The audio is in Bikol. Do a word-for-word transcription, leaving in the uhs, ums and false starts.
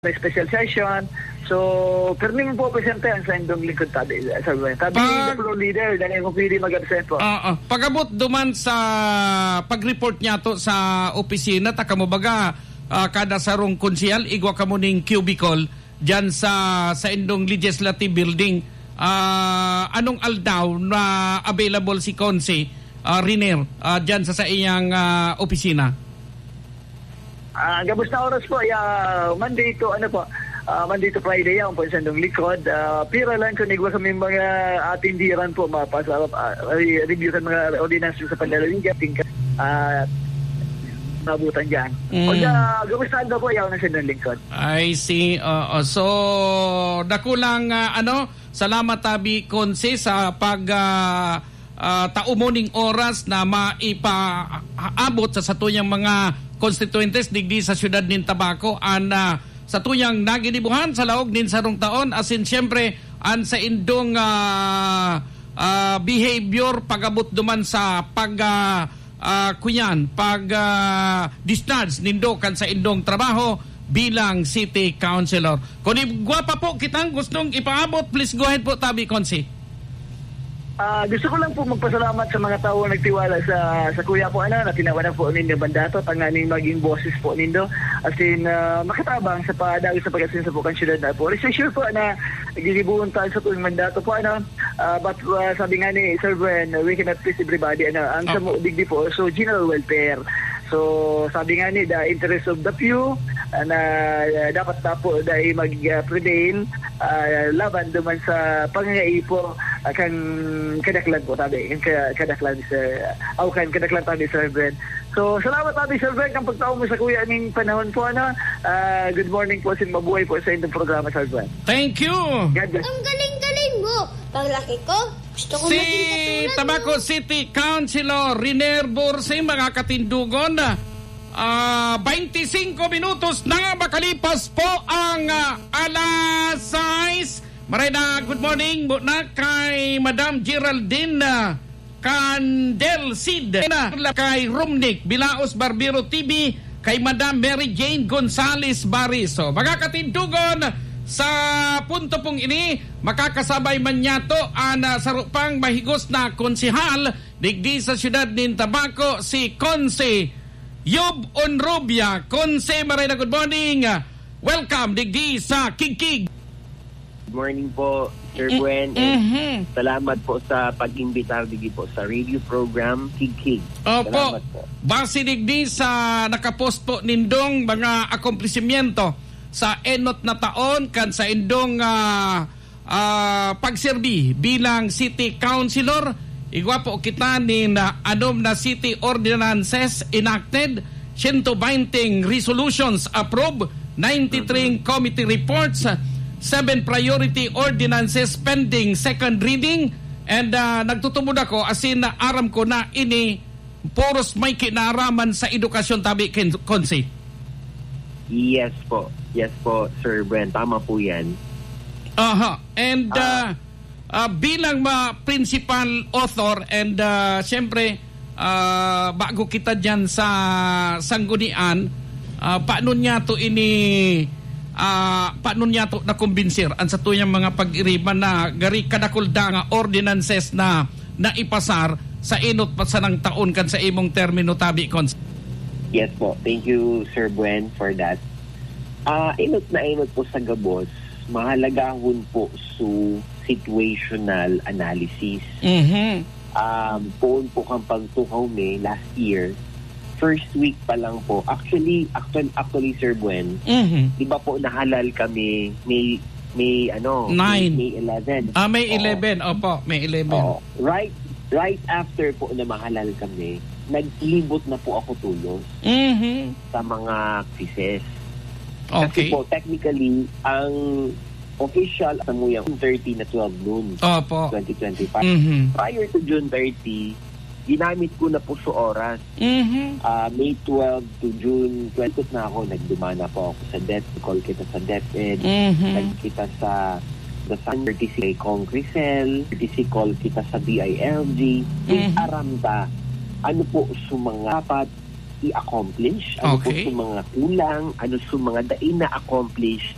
may special session. So, pirmi man po presente ang saindong lingkod tabi, Sir Gwen. Tabi Pag- ng floor leader, dahil kung pwede mag-absent po. Oo. Pag-abot duman sa pag-report niyato sa opisina, ta kamo baga, ah, kada sarong konsehal, igwa kamo ning cubicle diyan sa, sa indong legislative building. Ah, anong aldaw na available si Conse, ah, Riner, ah, diyan sa, sa iyang, ah, opisina? Ah, gabos na oras po, ya, Monday to, ano po, ah, Monday to Friday, yan po, sa indong likod. Ah, pira lang kung igwa kami mga atindiran po, mapasa-, ah, re-, review sa mga ordinance sa panlalawigan, tingka, ah, mabutan dyan. Mm. O, ya, gabos na aldaw po, yan ang sa indong lingkod. I see. Oo. So, dakulang, ah, ano, salamat, Tabi Conse, sa pag, ah, ah, tao mo ning oras na maipaabot sa satuyang mga konstituyentes digdi sa siyudad nin Tabaco an, ah, satuyang naginibuhan sa laog nin sarong taon, asin siyempre an saindong, ah, ah, behavior pag-abot duman sa pag, ah, ah, kuyan, pag, ah, discharge nindo kan saindong trabaho bilang city councilor. Kun igwa pa po kitang gustong ipaabot, please go ahead po, Tabi Conse. Ah, gusto ko lang po magpasalamat sa mga tao na nagtiwala sa, sa kuya po, ano, na tinawanan po nindo mandato, tanganing maging boses po nindo. As in, ah, makatabang sa padaog sa pag-asenso po kan syudad na po. Rest assured po na ginibuon ta sa tuwing mandato po, ano. Ah, but, ah, sabi nga ni Sir Gwen, we cannot please everybody, ano, ang Opo. Samo digdi po, so general welfare. So, sabi nga ni, the interest of the few, ah, na, ah, dapat na po dai mag, ah, prevail, ah, laban duman sa pangangaipo, ah, kan kadaklan po, tabi, kan ka-, kadaklan, sir, aw, kan kadaklan, tabi, Sir Ben. So, salamat, tabi, Sir Ben, kan pagtao mo sa kuya ning panahon po, ano. Ah, good morning po, sin mabuhay po sa inyong programa, Sir Ben. Thank you. God bless. Ang galing-galing mo. Paglaki ko, gusto ko Si maging katulad Tabaco mo. City Councilor Riner Bursing, mga katindugon. Ah, twenty-cinco minutos na makalipas po ang, ah, alas sais. Maray na, good morning muna kay Madam Geraldine, ah, Candel Cid, na kay Romnick Bilaos Barbero T V, kay Madam Mary Jane Gonzales Bariso. Mga katindugon, sa punto pong ini, makakasabay man niyato an, ah, saro pang mahigos na konsehal digdi sa siyudad nin Tabaco, si Conse Yob Onrubia. Conse, maray na good morning. Welcome digdi sa Kigkig. Good morning po, Sir Mm, Gwen, and mhm. salamat po sa pag-imbitar digdi po sa radio program, Kigkig. Opo. Salamat po. Base digdi sa nakapost po nindong mga akomplisimentos sa enot na taon kan saindong, ah, ah, pagserbi bilang city councilor, igwa po kita nin, ah, anom na city ordinances enacted, siyento benteng resolutions approved, ninety-three Mhm. committee reports, seven priority ordinances pending second reading, and, ah, nagtutubod ako, asin aram ko na ini puros may kinaaraman sa edukasyon, tabi, Ken-, Consi. Yes po. Yes po, Sir Bren. Tama po yan. Aha. And, Ah. ah, ah, bilang ma-, principal author and, ah, siyempre, ah, bago kita diyan sa sanggunian, ah, paano niya to ini, ah, paano niya to nakumbinsir ang satuyang mga pag-iriban na gari kadakul da nga ordinances na naipasar sa enot pa sanang taon kan sa imong termino, tabi, Cons? Yes po. Thank you, Sir Buen, for that. Ah, enot na enot po sa gabos, mahalagahon po su situational analysis. Mhm. Um, poon po kan pagtukaw mi last year, first week pa lang po. Actually, actual-, actually, Sir Buen, Mhm. di ba po nahalal kami May, May, ano, May, Nine. May eleven? Ah, May Oo. eleven. Opo, May eleven. Oo. Right, right after po na mahalal kami, naglibot na po ako tulos Mhm. sa mga quizzes. Kasi Okay. po, technically, ang official sa Muyang thirty na twelve noon, Opo. twenty twenty-five. Mhm. Prior to June thirty, ginamit ko na po sa oras. Mhm. Ah, May twelve to June twenty na ako, nagdumana po ako sa DepEd, call kita sa DepEd, Mhm. nagkita sa the San thirty-six Congresel, thirty-six call kita sa B I L G. Mhm. Aram ta, ano po sa mga dapat i-accomplish, ano po Okay. sa mga kulang, ano sa mga dai na-accomplish,